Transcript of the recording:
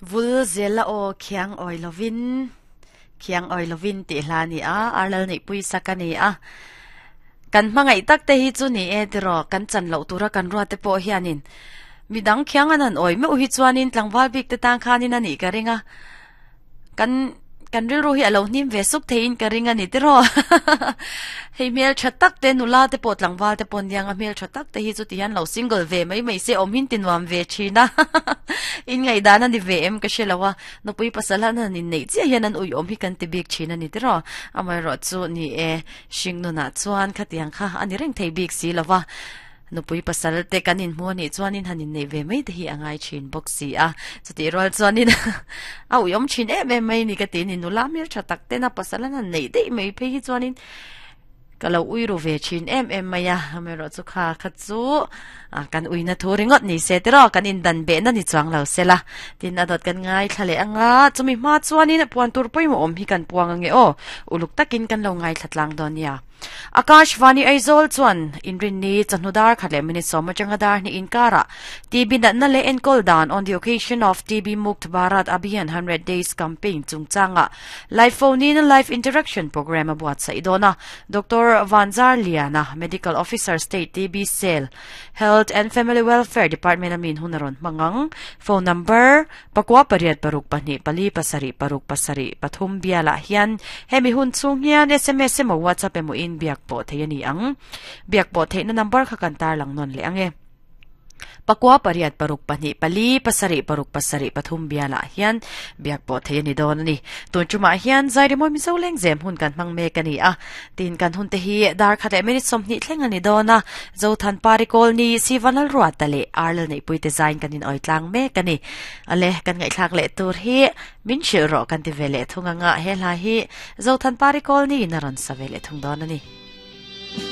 Vul zel a aw khiang awi lovin khiang awi lovin tih hla a ni a, Arlal neihpui sak a ni a. Kan hmangaih tak te hi chu ni e tiraw, kan chan loh tura kan ruat te pawh hianin midang khiang an han awi meuh hi chuanin tlangval bik te tan khanin a nih ka ring a. Kan kan rilru hi a lo hnim ve suk theiin ka ring a ni tiraw. Hei hmel tha tak te nula te pawh tlangval te pawh aniang a hmel tha tak te hi chuti hian lo single ve mai mai se awm hin ti nuam ve thin a. In ngaihdan a ni ve em ka hre lo a, nupui pasal han han inneih chiah hian an ui awm hi kan ti bik thin a ni tiraw. Amaherawh chu ni e, hring nunah chuan khatiang kha a ni reng thei bik si lo va. Nupui pasal te kan inhmu a nih chuanin han inneih ve mai te hi a ngai thin bawk si a. Chutih rual chuanin a uiawm thin em em mai ni ka ti a ni. Nula hmel tha tak tena pasal an han neih daih mai phei hi chuanin ka lo ui ru ve thin em em mai a. Amaherawh chu kha kha chu kan uina thu ringawt ni se tiraw kan indan behna ni chuang lo se la. Tin a dawt kan ngaithla leh anga chumi hma chuanin puan tur pawimawh awm hi kan puang ange aw. Uluk takin kan lo ngaithla tlang dawn nia. Akashvani Aizawl chuan Inrinni chawhnu dar khat leh minute sawm atanga dar hnih inkarah TB natna leh enkawl dan on the occasion of TB Mukt Bharat Abhiyan 100 Days Campaign chungchangah live phone in live interaction programme a buatsaih dawn a. Doctor Vanzar Liana, Medical Officer State TB Cell, Health and Family Welfare Department a min hun a rawn hmang ang. Phone number. Pakua pariat paruk pahnih pali pasarih paruk pasarih pathum bialah hian hemi hun chhung hian sms emaw WhatsApp emaw in biak pawh theih a ni ang. Biak pawh theihna number kha kan tarlang nawn leh ang e. Pakua pariat paruk pahnih pali pasarih paruk pasarih pathum bialah hian biak pawh theih a ni dawn a ni. Tun tumah hian Zairimawi Mizo Lengzem hun kan hmang mek a ni a. Tin kan hun te hi dar khat leh minute 20 thleng a ni dawn a, Zothan Parikawl ni Sivanal Ruata leh Arlal Neihpui te zain kan in awi tlang mek a ni. Ale, kan ngaihthlak leh tur hi min hrilh rawh kan ti ve leh thung anga he hla hi Zothan Parikawl ni in a rawn sa ve leh thung dawn a ni.